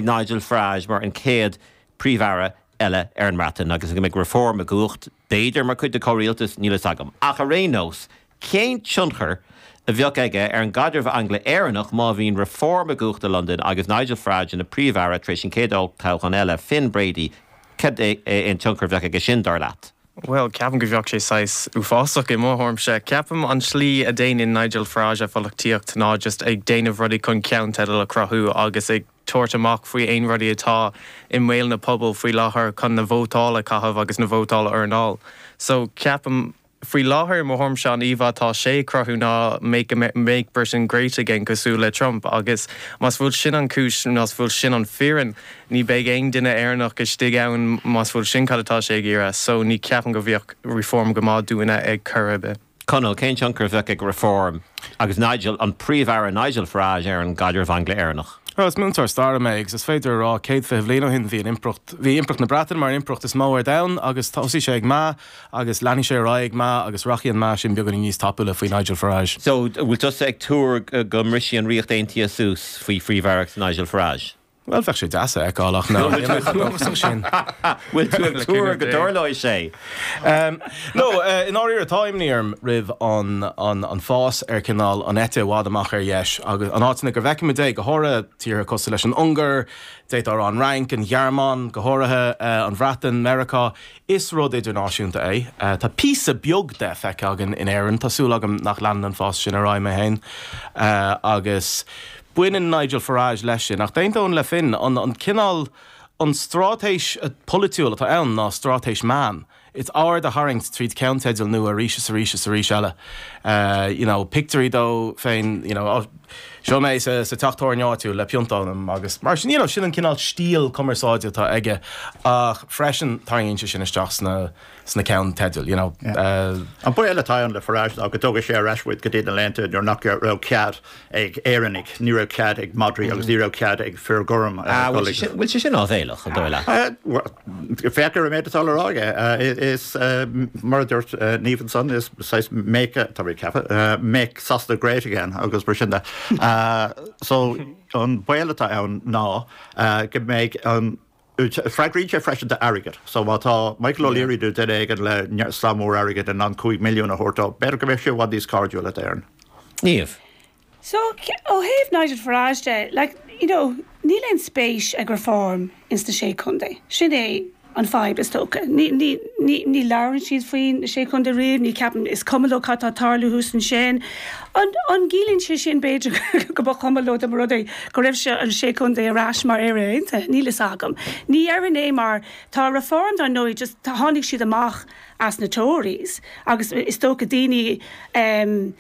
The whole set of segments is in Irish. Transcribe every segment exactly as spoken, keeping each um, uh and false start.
Nigel Farage mar an chéad príomh-aire eile ar an mBreatain agus go mbeidh Reform i gcumhacht b'fhéidir mar chuid de chomhrialtas níl a fhios agam. Ach ar aon nós, cén tionchar a bheadh aige ar an gcaidreamh Angla-Éireannach má bhíonn Reform i gcumhacht i Londain agus Nigel Farage ina príomh-aire tar éis an chéad olltoghchán eile Finn Brady cad é an tionchar a bheadh aige sin dar leat. Well, ceapaim go bheadh sé saghas uafásach i mo thuairimse. Ceapaim an slí a déanann Nigel Farage a pholaitíocht ná just ag déanamh rudaí chun ceannteideal a chruthú agus ag tabhairt amach faoi aon rudaí atá i mbéal na pobal faoi láthair chun na vótála caitheamh agus na vótála earnáil. So ceapaim faoi láthair mo thuairimse an íomhá atá sé cruthú ná make, make Britain great again cosúil le Trump agus más bhfuil sin an cúis más bhfuil sin an fírinne ní beidh aon duine Éireannach istigh ann más bhfuil sin cad atá sé ag iarraidh, so ní ceapaim go bheadh Reform go maith dúinne ag cur be. Conall cén tionchar a bheadh ag Reform agus Nigel an príomh-aire Nigel Farage ar an gcaidreamh Angla-Éireannach. Well, is múinteoir staire mé agus is féidir rá céad fiche bliain ó shin bhí an impireacht bhí impireacht na Breataine mar an impireacht is mó ar domhan agus thosaigh sé ag meath agus leanfaidh sé ar aghaidh ag meath agus rachaidh an meath sin beagáinín níos tapúla faoi Nigel Farage. So bhfuil tusa ag tuar go mbrisfidh an Ríocht Aontaithe suas faoi phríomh-aireacht Nigel Farage. Well bheadh sé deas a fheiceáil ach ná sin. Bhfuil tú ag tuar go dtarlóidh sé. Um, no, uh, in áiríre tá imní orm roimh an, an, an fás ar cineál an eite i bhfad amach ar dheis agus an áiteanna go bhfeicimid é go háirithe tíortha cosúil leis an Ungáir, d'fhéadfá an Fhrainc, an Ghearmáin, go háirithe uh, an Bhreatain, Meiriceá, is rud idirnáisiúnta é. Uh, tá píosa beag de feicthe againn in Éirinn, Tá súil agam nach leanann an fás sin ar aghaidh mé féin uh, agus baineann Nigel Farage leis sin ach d'aontóinn le Finn an, an cineál an straitéis polaitiúil atá ann ná straitéis meán. It's aird a tharraingt tríd ceannteideal nua arís is arís is arís eile. Uh, you know, pictiúirí dó féin you know, oh, seo mé sa, sa teach tábhairne áitiúil le pionta ionam agus mar sin you know, sin an cineál stíl cumarsáide atá aige ach freisin tarraingíonn sé sin isteach sna sna ceannteidil you know, Yeah. uh, An baol atá ann le Farage ná go dtógfaidh sé ar ais muid go dtí na laethanta nuair nach raibh cead ag Éireannaigh, ní raibh cead ag madraí agus ní raibh cead ag fir gorm. Ah, bhfuil sé sin- bhfuil sé sin áibhéileach an dóigh leat. Féach ar an méid atá le rá aige is uh, mar a dúirt uh, Niamh ansan is saghas make tá mé ceaptha uh, make Sasana great again agus mar sin de. Uh, so an baol atá ann ná uh, go mbeidh an Freagraíonn sé freisin d'airgead, so má tá Michael O'Leary nó duine éigin le slám mór airgead in ann cúig milliún a thabhairt dó, b'fhéidir go mbeidh sé i bhfad níos cairdiúla d'Éirinn. Niamh. So ó thaobh Nigel Farage de, like, you know, níl aon spéis ag Reform ins na sé chontae. Sin é an fadhb is dócha. Ní, ní, ní, ní labhrann siad faoin sé chontae riamh, ní ceapaim is cuma leo cad tá ag tarlú thuas ansin. An, an gciallaíonn sé sin b'fhéidir go ba chuma leo dá mba rud é go raibh sé an sé chontae ar ais mar Éire Aontaithe, níl fhios agam. Ní ar é mar tá Reform dar ndóigh just tá tháinig siad amach as na Tories agus is dócha daoine um,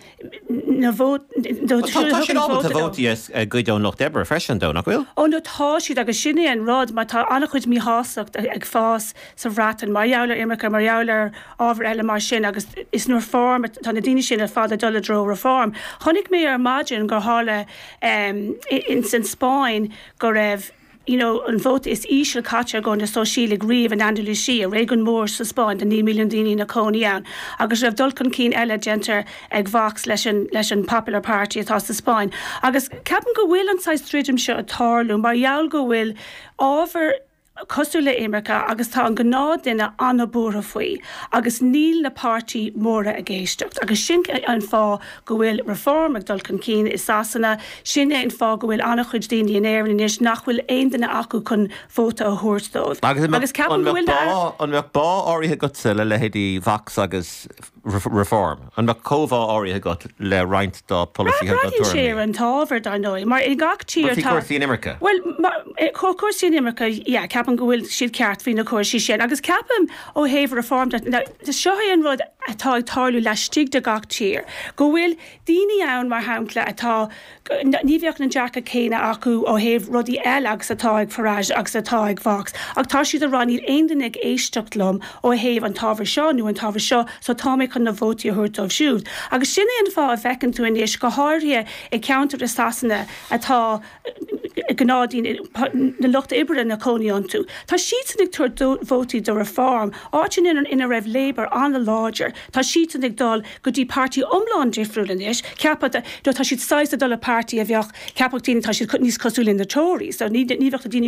na vót Tá siad ábalta vótaí a ghoid ón Lucht Oibre freisin dó nach bhfuil? Ó no tá siad agus sin é an rud mar tá an-chuid míshástacht ag fás sa Bhreatain mar gheall ar imirce mar gheall ar ábhar eile mar sin agus is nó Reform tá na daoine sin ar fad ag dul i dtreo Reform. Chonaic mé ar maidin gur tharla um, in san Spáin go raibh you know, an vóta is ísle caite ag na Sóisialaigh riamh in Andalusia, réigiún mór sa Spáin de naoi milliún daoine ina gcónaí ann. agus raibh dul chun cinn eile déanta ag Vox leis an, leis an Popular Party atá sa Spáin. Agus ceapaim go bhfuil an saghas troid seo ag tarlú, mar gheall go bhfuil ábhar cosúil le imirce agus tá an gnáthdhuine an-bhuartha faoi agus níl na páirtithe móra ag éisteacht agus sin an fáth go bhfuil Reform ag dul chun cinn i Sasana sin é an fáth go bhfuil an-chuid daoine in Éirinn anois nach bhfuil aon duine acu chun vóta a thabhairt dóibh. Agus agus ceapaim go bhfuil na- an mbeadh bá áirithe agatsa le leithéidí Vox agus Reform. An mbeadh comhbhá áirithe agat le roinnt dá polasaithe Braitheann sé ar an t-ábhar dar ndóigh, mar i gach tír Faoi cúrsaí imirce. Well cúrsaí imirce yeah, ceapaim go bhfuil siad ceart faoi na cúrsaí sin, agus ceapaim ó thaobh Reform seo é an rud atá ag tarlú laistigh de gach tír, go bhfuil daoine ann mar shampla atá ní bheadh an dearcadh céanna acu ó thaobh rudaí eile agus atá ag Farage agus atá ag Vox, ach tá siad ag rá níl aon duine ag éisteacht liom ó thaobh an t-ábhar seo nó an t-ábhar seo, so tá mé chun chun na vótaí a thabhairt dóibh siúd. Agus sin é an fáth a bhfeiceann tú anois go háirithe i gceantair i Sasana atá gnáthdhaoine na lucht oibre ina gcónaí iontu. Tá siadsan ag tabhairt vótaí do Reform, áiteanna ina raibh Labour an-láidir. Tá siadsan ag dul go dtí páirtí iomlán difriúil anois, ceapadh tá siad saghas ag dul le páirtí a bheadh ceapadh daoine tá siad níos cosúla na Tories, so ní ní bheadh na daoine